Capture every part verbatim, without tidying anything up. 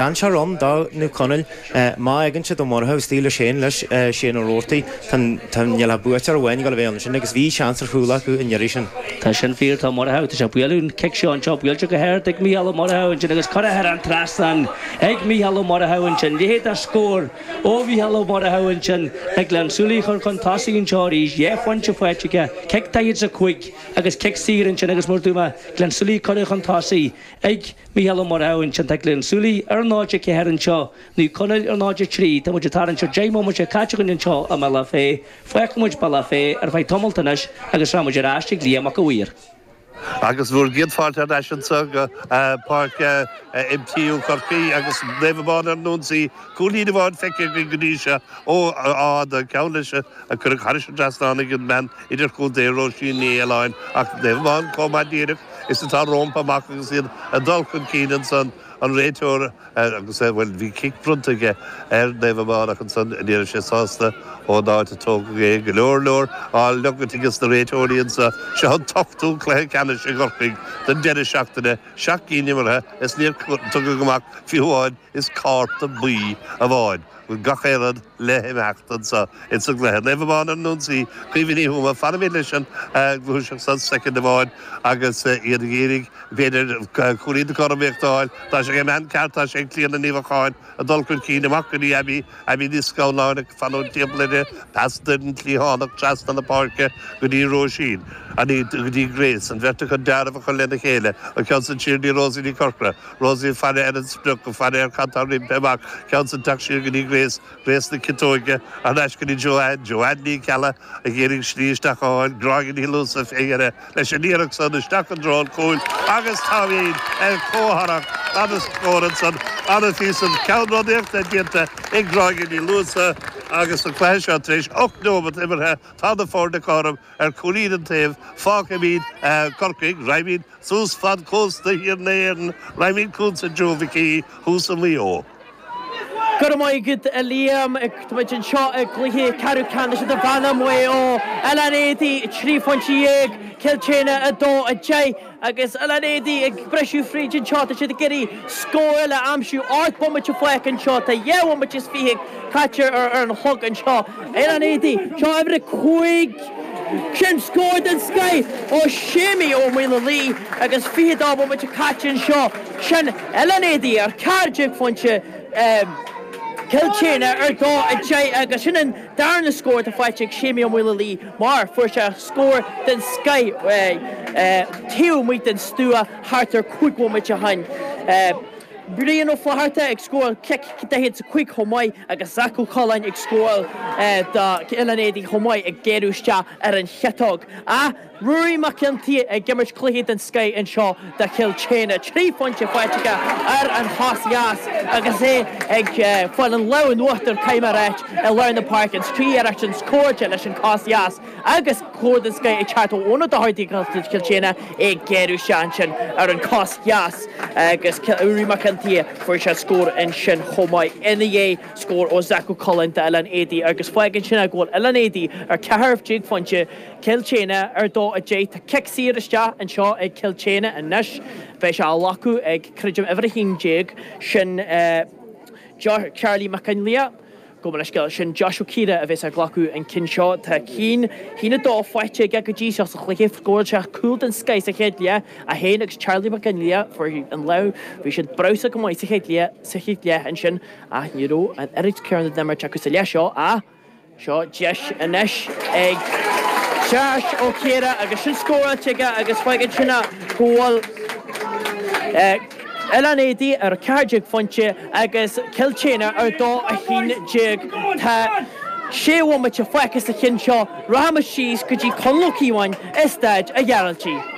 Dainséar ann do Naomh Conaill má fhaigheann siad Ó Murchú istigh le Shane leis, Shane Ó Roarty, tá níl ach buaiteoir amháin ag dul a bheith ann ansin agus bhí seans ar chúl acu an iarraidh sin. Tá sin fíor, tá Murchú, tá sé ag bualadh an cic seo anseo, buailte go hard ag Mícheál Ó Murchú ansin agus curtha thar an trasnán ag Mícheál Ó Murchú ansin, leithéid de scór ó Mhícheál Ó Murchú ansin le Gleann tSúilí a chur chun tosaigh anseo arís, dhá phointe faighte aige, cic daichead is a cúig agus cic saor ansin agus mar a dúirt mé, Gleann tSúilí curtha chun tosaigh ag Mícheál Ó Murchú ansin. Tá Gleann tSúilí ar náid a ceathair anseo, Naomh Conaill ar náid a trí. Tá muid ag tarraingt ar deich mbomaite caite againn anseo i mBealach Féich. Fágfaidh muid Bealach Féich ar feadh tamalt anois agus rachaidh muid ar ais ag Liam Mac a' Mhaoir. Agus bhur gcéad fáilte ar ais anseo go Páirc MTU Chorcaí agus Naomh Abán ar an ionsaí. Cúilín amháin feicthe againn go dtí seo ó Áth an ceann leis a cuireadh thairis an trasnán ag an mbean idirchontae Róisín Ní Fhaoláin ach Naomh Abán chomh maith díreach is atá rompu amach agus iad ag dul chun cinn ansan, an réiteoir agus, bhuel, bhí cic bronnta aige ar Naomh Abán ach ansan ní raibh sé sásta ón áit a tógadh é. Go leor leor á leogaint ages na réiteoirí anso. Seo an t-ochtú cluiche ceannais i gCorcaigh don deireadh seachtaine, seacht gcinn imeartha is níor tugadh amach fiú amháin is cárta buí amháin. Bhfuil gach aon rud le himeacht anso ins an gcluiche. Naomh Abán ar an ionsaí, Caoimhe Ní Thuama, fanfaimid leis an ngluaiseacht san soicind amháin agus iad ag iarraidh, b'fhéidir, cúilín na cothromaíochta a fháil. Tá sé ag an mbean ceart, tá sé ag Clíona Ní Bheacháin ag dul chun cinn amach go dtí Abby, Abby Ní Scanláin ag fanúint timpeall uirthi, pas den chliathánach trasna na páirce go dtí Róisín, go dtí Grace, an bheirt acu dealramh a chur lena chéile, an ceann san siar go dtí Rosie Ní Chorcra. Rosie ag faire ar an sprioc, ag faire ar cad tá roimpi amach, ceann san teacht siar go dtí Grace, Grace na Ciotóige, thar n-ais go dtí Joanne, Joanne Ní Ceallaigh ag iarraidh slí isteach a fháil, Gráinne Ní Luasa fé dheireadh leis an iarracht san isteach i dtreo an chúil agus táimid ar comhtharrac an-scór ansan, an-phíosa ceannródaíochta déanta ag Gráinne Ní Luasa agus an cluiche seo tar éis ocht neomat imeartha, tá na foirne cothrom ar chúilín an taobh, fágfaimid Corcaigh, raghaimid Suas fad cósta thiar na hÉireann, raghaimid chugatsa Joe Mhic Aoidh, thuas i Maigh Eo. Go raibh maith agat a Liam. Tá muid anseo i gcluiche ceathrú ceannais idirmheánach Mhaigh Eo. Oileán Éadaí trí phointe dhéag, Cill tSéadhna a dó a deich agus Oileán Éadaí ag briseadh fríd anseo. Tá siad ag iarraidh scór eile a aimsiú. Ocht bomaite fágtha anseo. Tá dhá bhomaite is fiche caite ar an chlog anseo. Oileán Éadaí, seo uimhir a cúig. Sin scór den scoith ó Séimí Ó Maolalaí agus fiche dó bomaite caite anseo. Sin Oileán Éadaí ar ceathair déag phointe, Cill tSéadhna ar dó a deich agus sin an darna scór atá faighte ag Séimí Ó Maolalaí mar fuair sé scór den scoith taobh amuigh den stua thart ar cúig bhomaite ó shin. Brian Ó Flatharta ag scóráil cic daichead is a cúig chomh maith agus Zach Ó Coileáin ag scóráil do Oileán Éadaí chomh maith ag géarú isteach ar an chiotóg. Ach Ruairí Mac Fhionntaigh ag imirt cluiche den scoith anseo do Chill tSéadhna. Trí phointe faighte aige ar an chos dheas agus é ag fáil an lámh in uachtar, caithfidh mé a ráit, i lár na páirce. An trí iarracht sin scóráilte leis an cos dheas agus scór den scoith ag teacht ó Eoin Ó Dochartaigh do Chill tSéadhna, é ag géarú isteach ansin ar an cos dheas agus Ruairí Mac Fhionntaigh, fuair sé scór ansin chomh maith ina dhiaidh, scór ó Zach Ó Coileáin d'Oileán Éadaí agus fágann sin go bhfuil Oileán Éadaí ar ceathair déag phointe, Cill tSéadhna ar dó a deich. Tá cic saor isteach anseo ag Cill tSéadhna anois. Beidh sé á ghlacadh ag, creidim, uimhir a haon déag, sin Charlie Mac Fhionnlaoich. Gabh mo leithscéal, sin Josh Ó Ciardha a bheas ag glacadh an cinn seo. Tá cinn, haon a dó faighte aige go dtí seo sa chluiche. Scóráil sé cúl den scoith sa chéad leath, é féin agus Charlie Mac Fhionnlaoich, fuair an lámh, bhí siad breabhsach go maith sa chéad leath, sa chéad leath ansin ach ní raibh an oiread céanna den imirt acu sa leath seo ach Seo deis anois ag Josh Ó Ciardha agus sin scóráilte aige agus fágann sin go bhfuil Oileán Éadaí ar ceathair déag phointe agus Cill tSéadhna ar dó a haon déag. Tá sé bhomaite fágtha sa chinn seo. Rachaimid síos go dtí Conall Ó Cíobháin i Staid a' Ghearaltaigh.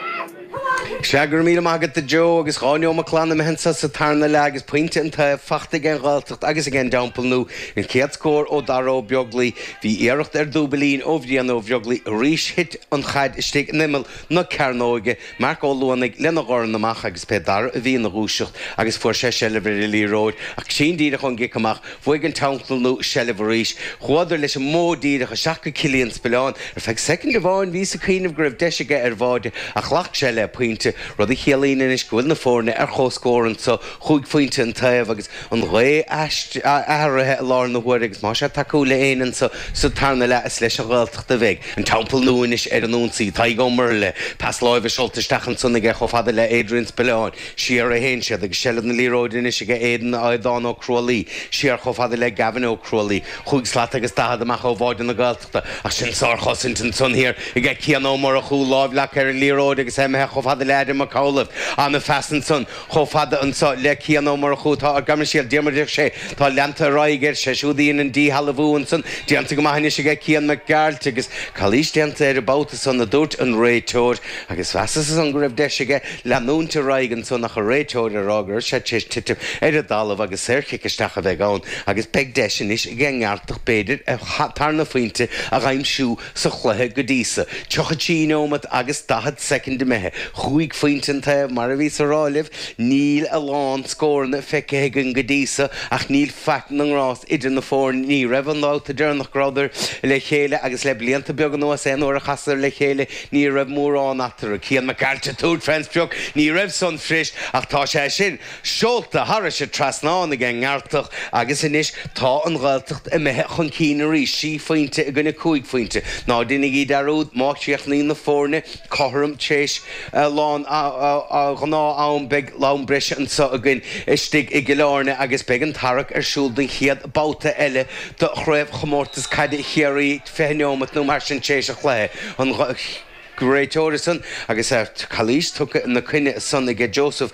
Sea, go raibh míle maith agat a Joe, agus dhá neomat glan imithe anso sa tarna leath agus pointe an taobh fachta ag an Ghaeltacht agus ag an dTeampall Nua. An chéad scór ó Dara Ó Beaglaoi. Bhí iarracht ar dúbailín ó Bhrian Ó Bheaglaoi arís thit an chaid istigh in imeall na cearnóige. Marc Ó Luanaigh lena dhorn amach agus b'é Dara a bhí ina dhúiseacht agus fuair sé seilbh ar an liathróid ach tinn díreach ón gcic amach bhuaigh an Teampall Nua seilbh arís. Chuadar leis an modh díreach isteach go Cillian Spillane. Ar feadh soicind amháin bhíos ag cuimhneamh go raibh deis aige ar bháide ach ghlac sé le pointe. phointe, rud a chiallaíonn anois go bhfuil na foirne ar comhscór anseo, chúig phointe an taobh agus an ghaoth athraithe i láthair na huaire agus má tá sé ag tacú le éinne anseo sa tarna leath is leis an Ghaeltacht a bheidh an Teampall Nua anois ar an ionsaí. Tadhg Ó Murlaigh, pas láimhe seolta isteach ansan aige chomh fada le Adrian Spillane. Siar a théann siad agus seilbh na liathróide anois aige Aidan Aodhán Ó Crualaoi. Siar chomh fada le Gavin Ó Crualaoi. Chúig slat agus daichead amach ó bháide na Gaeltachta ach sin sárchosaint ansan thiar aige Cian Ó Murchú, lámh leagtha ar an liathróid agus é imithe chomh fada le Adam Mac Amhlaoibh. Ana-phas ansan chomh fada anso le Cian Ó Murchú atá ar Gairmsiel Diarmuid Ó Sé. Tá leanta ar aghaidh air, sé siúd a dhein an díshealbhú ansan. Déanta go maith anois aige Cian Mac Gearailt agus calaois déanta air an babhta san a dúirt an réiteoir agus mheasas ansan go raibh deis aige leanúint ar aghaidh ansan ach an réiteoir ag rá go raibh sé tar éis titim ar an dtalamh agus saorchic isteach a bheidh ann agus beidh deis anois ag an nGearaltach b'fhéidir a tarna phointe a dh'aimsiú sa chluiche go dtí so. Tríocha trí neomat agus daichead soicind imithe. Chúig phointe an taobh mar a bhíos a rá libh níl a lán scóranna feicthe againn go dtí so ach níl faic na ngrást idir na foirne. Ní raibh an babhta deireanach go rabhadar le chéile agus le blianta beaga anuas aon uair a chasadar le chéile ní raibh mórán eatarthu. Cian Mac Gearailt ag tabhairt fén sprioc, ní raibh san fuirist ach tá sé sin seolta thairis an trasnán ag an nGearaltach agus anois tá an Ghaeltacht imithe chun cinn arís, sí phointe i gcoinne cúig phointe. Ná déanaigí dearúd, má chríochnaíonn na foirne cothrom tar éis lán ghnáth-am beidh am breise anseo againn istigh i gCill Airne agus beidh an tarrac ar siúl don chéad babhta eile de Chraobhchomórtas Caide Chiarraí fiche neomat nó mar sin tar éis an chluiche. An réiteoir san agus calaois tugtha ina coinne san aige Joseph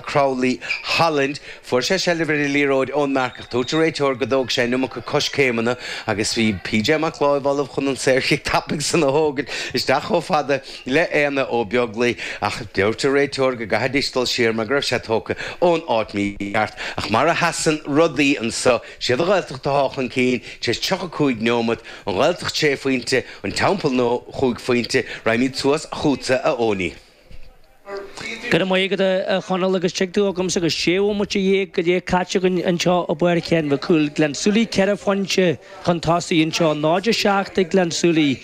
Crowley Holland. Fuair sé seilbh ar an liathróid ón marcach. Dúirt an réiteoir go dtóg sé an iomarca coiscéimeanna agus bhí PJ Mac Láimh ullamh chun an saorchic tapaidh san a thógaint isteach chomh fada le Éanna Ó Beaglaoi ach dúirt an réiteoir go gcaithfidís dul siar mar go raibh sé tógtha ón áit mícheart. Ach mar a sheasann rudaí anseo, siad an Ghaeltacht atá chun cinn tar éis tríocha cúig neomat, an Ghaeltacht sé phointe, an Teampall Nua chúig phointe. Raghaimid suas chugatsa a Eoiní. Go raibh maith agat a Chonaill agus tig tú agamsa agus sé bhomaite dhéag go leith caite againn anseo i bPáirc Sheáin Mhic Cumhaill. Gleann tSúilí ceithre phointe chun tosaigh anseo, náid a seacht ag Gleann tSúilí,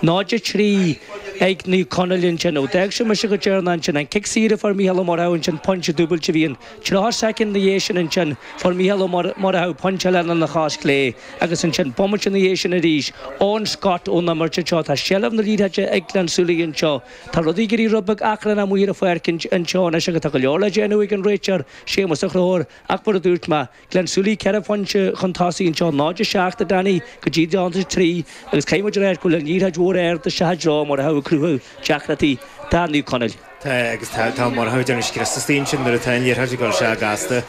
náid a trí ag Naomh Conaill ansin. Ó d'fhág sé mise go deireanach ansin, an cic saor a fuair Mícheál Ó Murchú ansin, pointe dúbailte a bhí ann. Tríocha soicind ina dhiaidh sin ansin, fuair Mícheál Ó Murchú pointe eile lena chos chlé agus ansin bomaite ina dhiaidh sin arís, Eoin Scott ón imirt anseo. Tá seilbh na liathróide ag Gleann tSúilí anseo. Tá rudaí ag éirí rud beag achrannach amuigh ar an pháirc anseo anois agus tá go leor le déanamh ag an réiteoir, Séamus Ó Conchúir, ach mar a dúirt mé, Gleann tSúilí ceithre phointe chun tosaigh anseo, náid a seacht a Danny go dtí náid a trí agus caithfidh muid a rá go bhfuil an liathróid mhór ard isteach i dtreo Murchú ag cruthú deacrachtaí do Naomh Conaill. Tá agus tá tá Murchú ag déanamh scrios istigh ansin nuair atá an liathróid ag dul isteach gasta.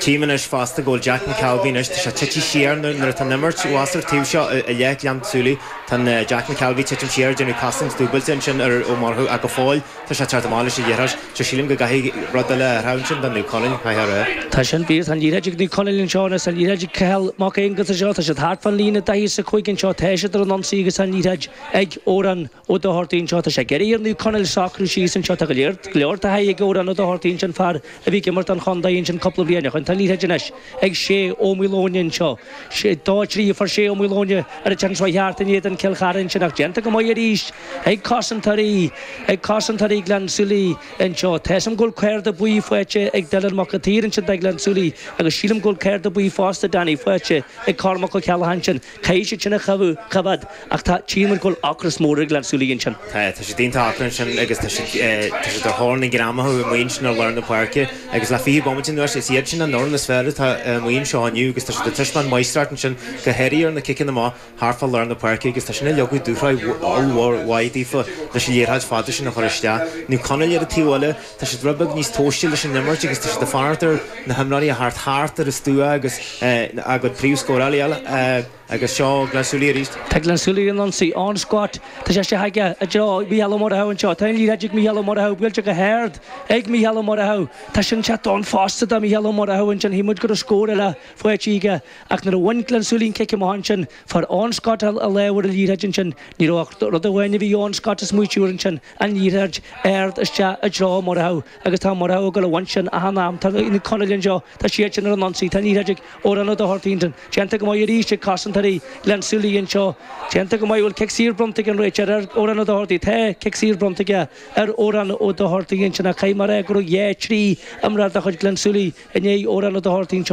Tchím anois fosta go bhfuil Jack McKelvey anois, tá sé tite siar nuair atá an imirt thuas ar taobh seo i leith Ghleann tSúilí. Tá Jack McKelvey titim siar ag déanamh cosaint dúbailte ansin ar Ó Murchú ach go fóill tá sé ag teacht amach leis an liathróid. So sílim go gcaithfidh rud eile a athrú ansin do Naomh Conaill, caithfidh a rá. Tá sin fíor, tá an liathróid ag Naomh Conaill anseo anois, tá an liathróid ag Cathal Mac Aonghusa anseo, tá siad thart fán líne daichead is a cúig anseo, tá siad ar an ionsaí agus tá an liathróid ag Odhrán Ó Dochartaigh anseo. Tá sé ag iarraidh ar Naomh Conaill socrú síos anseo. Tá go leor go leor taithí ag Odhrán Ó Dochartaigh ansin, fear a bhí ag imirt don chontae ansin cúpla bliain ó shin. Tá an liathróid anois ag Sé Ó Maoileoin anseo. Sé dó trí a fuair Sé Ó Maoileoin ar an tseans thart in éadan Chill Chartha ansin ach déanta go maith arís ag cosantóirí ag cosantóirí Ghleann tSúilí anseo. Tá 'fhios a'm go bhfuil cárta buí faighte ag Dylan Mac an tSaoir ansin do Ghleann tSúilí agus sílim go bhfuil cárta buí fosta Danny faighte ag Cormac Ó Ceallaigh ansin. Caithfidh siad sin a choimhéad ach tá tchíonn muid go bhfuil ocras mór ag Gleann tSúilí ansin. Tá tá siad iontach ocrach ansin agus tá siad tá siad ar thóir na ngreamaitheach amuigh ansin ar lár na páirce agus le fiche bomaite anuas is iad sin an fhoireann is fearr atá amuigh anseo inniu agus tá siad ag taispeáint máistreacht ansin go háirithe ar na ciceanna amach thart fá lár na páirce agus tá sin ag leagadh dúshraith ollmhór mhaith daofa leis an liathróid fada sin a chur isteach. Naomh Conaill ar an taobh eile, tá siad rud beag níos tomhaiste leis an imirt agus tá siad ag fanacht ar na himreoirí a theacht thart ar an stua agus a gcuid príomhscórálaí eile agus seo Gleann tSúilí arís. Tá Gleann tSúilí ar an ionsaí Eoin Scott. Tá sé isteach aige i dtreo Mhícheál Ó Murchú anseo. Tá an liathróid ag Mícheál Ó Murchú buailte go hard ag Mícheál Ó Murchú. Tá sin sé donn fosta do Mhícheál Ó Murchú ansin. Shíl muid go raibh scór eile faighte aige ach nuair a bhain Gleann tSúilí an cic amach ansin fuair Eoin Scott a lámh ar an liathróid ansin. Ní raibh ach rud amháin a bhí Eoin Scott ag smaoitiú air ansin, an liathróid ard isteach i dtreo Murchú agus tá Murchú ag dul a bhaint sin achan am. Tá Naomh Conaill anseo, tá siad sin ar an ionsaí. Tá an liathróid ag Odhrán Ó Dochartaigh ansin. Déanta go maith arís ag cosantóirí. cosantóirí Ghleann tSúilí anseo. Déanta go maith bhfuil cic saor bronnta ag an réiteoir ar Odhrán Ó Dochartaigh. Tá cic saor bronnta aige ar Odhrán Ó Dochartaigh ansin ach caithfidh mé a rá go raibh dhá, trí imreoir de chuid Ghleann tSúilí i ndiaidh Odhrán Ó Dochartaigh anseo.